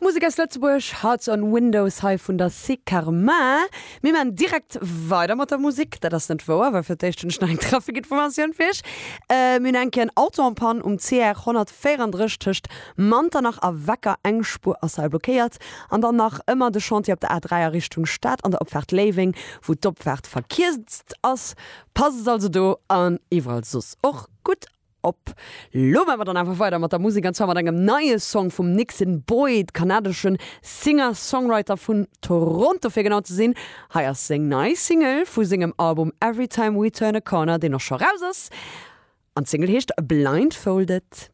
Musek aus Lëtzebuerg, Hearts on Windows hei vun der Secarmain. Mir maan direkt weider mat der Musek. Dat ass net wouer, well fir d'éischt hunn ech nach eng Trafikinformatioun fir iech. Mir hunn eng Kéier en Auto en panne um CR 134 tëscht Manternach a Wecker. Eng Spuer ass hei blockéiert. An dann nach ëmmer de Chantier op der A3 a Richtung Stad an der Opfaart Léiweng, wou d'Opfaart verkierzt ass. Passt also do an iwwerall soss och gutt op. Lo maache mer dann awer weider mat der Musek an zwar mat engem neie Song vum Nixon Boyd, kanadeschen Singer-Songwriter vun Toronto fir genau ze sinn. Hei ass seng nei Single vu sengem Album Every Time We Turn a Corner, deen och scho raus ass an d'Single heescht Blindfolded.